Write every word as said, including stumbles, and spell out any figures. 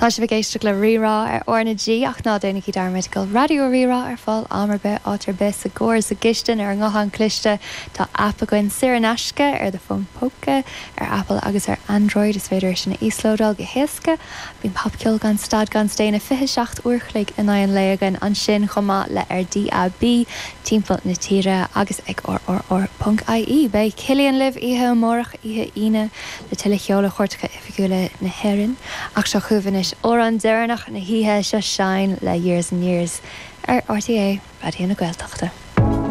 Tá sibh ag éisteacht le Rí-Rá ar R na G ach ná déanaigí dearmad go bhfuil Raidió Rí-Rá ar fáil am ar bith áit ar bith sa gcarr sa gcistin ar an nguthán cliste tá aip againn saor in aisce ar do fón póca ar Apple agus ar Android is féidir sin a íoslódáil go héasca Bíonn popcheol gan stad gan staonadh fiche seacht uair chloig in aghaidh an lae againn ansin chomh maith le ar DAB timpeall na tíre agus ag rrr.ie Beidh Cillian libh oíche amárach oíche Aoine le tuilleadh ceoil ó chairteacha oifigiúla na hÉireann ach seo chugaibh anois amhrán deireanach na hoíche seo Shine le Years and Years ar RTÉ Raidió na Gaeltachta.